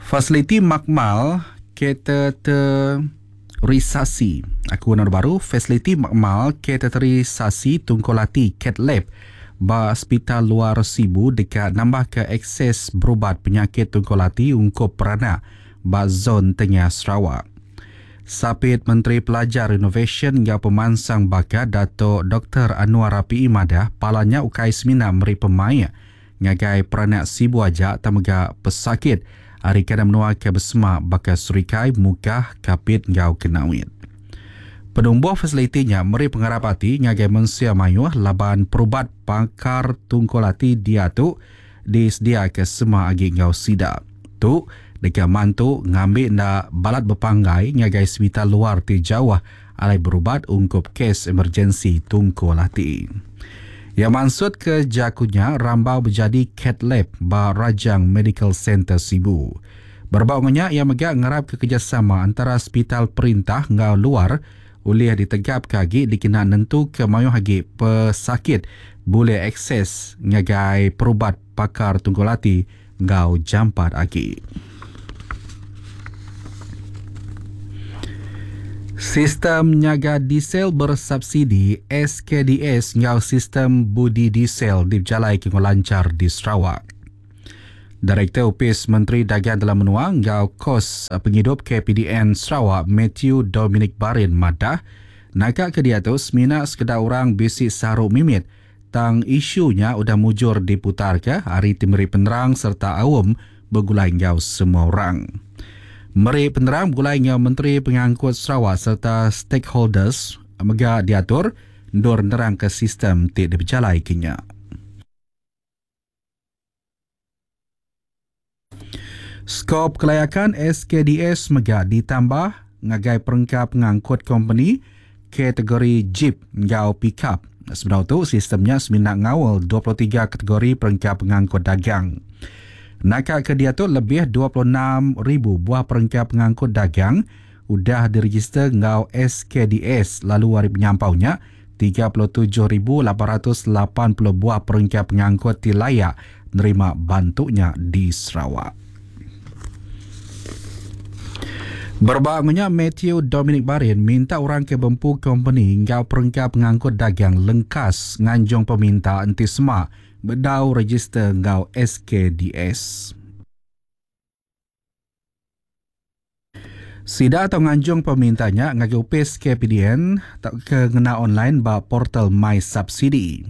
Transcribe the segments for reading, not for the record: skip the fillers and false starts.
Fasiliti makmal kateterisasi aku enda baru fasiliti makmal kateterisasi tungkul ati Cath Lab ba Sepital Luar Sibu deka nambahka akses berubat penyakit tungkul ati ungkup peranak ba zon tengah Sarawak. Sapit Menteri Pelajar Inovasyen enggau Pemansang Bakat Datuk Doktor Annuar Rapiee madah palan nya ukai semina meri pemaik ngagai peranak Sibu aja tang mega pesakit ari kandang menua ke besemak baka Serikai, Mukah, Kapit enggau Kenawit. Penumbuh fasiliti nya meri pengarap ati ngagai mensia mayuh laban perubat pakar tungkul ati diatu disediaka semak agi enggau sida. Tu deka mantu ngambi enda balat bepanggai ngagai sepital luar ti jauh alai berubat ungkup kes emergensi tungkul ati. Iya mansutka jaku nya rambau bejadi Cath Lab ba Rajang Medical Centre Sibu. Berebak enggau nya, iya mega ngarapka kerejasama entara sepital perintah enggau luar ulih ditegapka agi dikena nentuka mayuh agi pesakit bulih akses ngagai perubat pakar tungkul ati enggau jampat agi. Sistem Nyaga Diesel Bersubsidi, SKDS, enggau Sistem Budi Diesel dipejalaika enggau lanchar di Sarawak. Direktor Opis Menteri Dagang Dalam Menua enggau Kos Pengidup KPDN Sarawak Mathew Dominic Barin madah, naka ke diatu semina sekeda orang bisi saru mimit tang isu nya udah mujur diputarka ari ti meri penerang sereta aum begulai enggau semua orang. Meri penerang begulai enggau Menteri Pengangkut Sarawak sereta stakeholders mega diatur endur nerangka sistem ti dipejalaika nya. Skop kelayakan SKDS mega ditambah ngagai perengka pengangkut kompeni kategori jip enggau pikap. Sebedau tu, sistem nya semina ngaul 23 kategori perengka pengangkut dagang. Naka ke diatu lebih 26,000 buah perengka pengangkut dagang udah direjister enggau SKDS lalu ari penyampau nya, 37,880 buah perengka pengangkut ti layak nerima bantu nya di Sarawak. Berebak enggau nya, Mathew Dominic Barin minta orang ke bempu kompeni enggau perengka pengangkut dagang lengkas nganjung peminta enti sema bedau rejister enggau SKDS. Sida tau nganjung peminta nya ngagai opis KPDN tauka ngena online ba portal MySubsidi.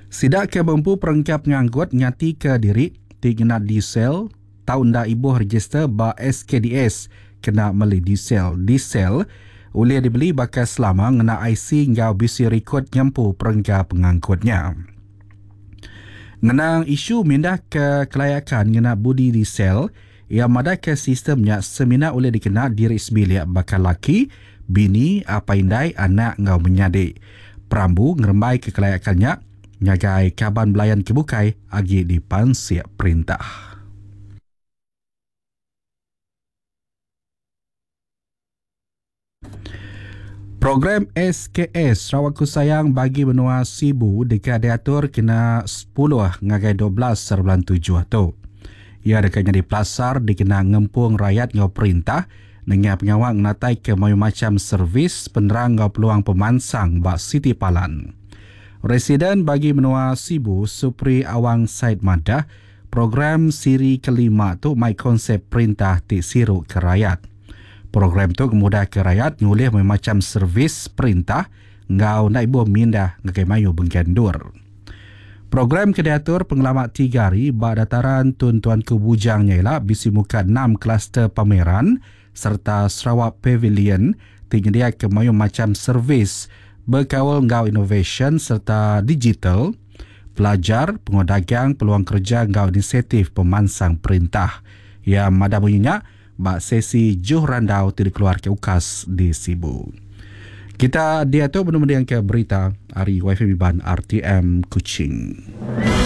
Sida ke bempu perengka pengangkut ngatika diri ti ngena diesel tau enda ibuh rejister ba SKDS kena meli diesel. Diesel ulih dibeli baka selama ngena IC enggau bisi rikod ngempu perengka pengangkut nya. Ngenang isu mindahka kelayakan ngena budi diesel, iya madahka sistem nya semina ulih dikena diri sebilik baka laki, bini, apai indai, anak enggau menyadi. Perambu ngerembaika kelayakan nya ngagai kaban belayan ke bukai agi dipansik perintah. Program SKS Sarawakku Sayang bagi menua Sibu deka diatur kena sepuluh ngagai 12 bulan tujuh tu. Iya deka nyadi pelasar dikena ngempung rayat enggau perintah nengah pengawa ngenataika mayuh macham servis, penerang enggau peluang pemansang ba siti palan. Residen bagi menua Sibu Supri Awang Said madah, program siri kelima tu mai konsep perintah ti siru ke rayat. Program tu ngemudahka rayat ngulih bemacham servis perintah enggau enda ibuh mindah ngagai mayuh bengkah endur. Program ke diatur pengelama tiga hari ba Dataran Tun Tuanku Bujang nya ila bisi muka enam kluster pameran sereta Sarawak Pavilion ti nyediaka mayuh macham servis bekaul enggau inovasyen sereta digital, pelajar, pengawa dagang, peluang kereja enggau inisiatif pemansang perintah. Iya madah munyi nya. Ba sesi Juh Randau ti dikeluarka UKAS di Sibu. Kita diatu benung mendingka berita ari WiFi Iban RTM Kuching.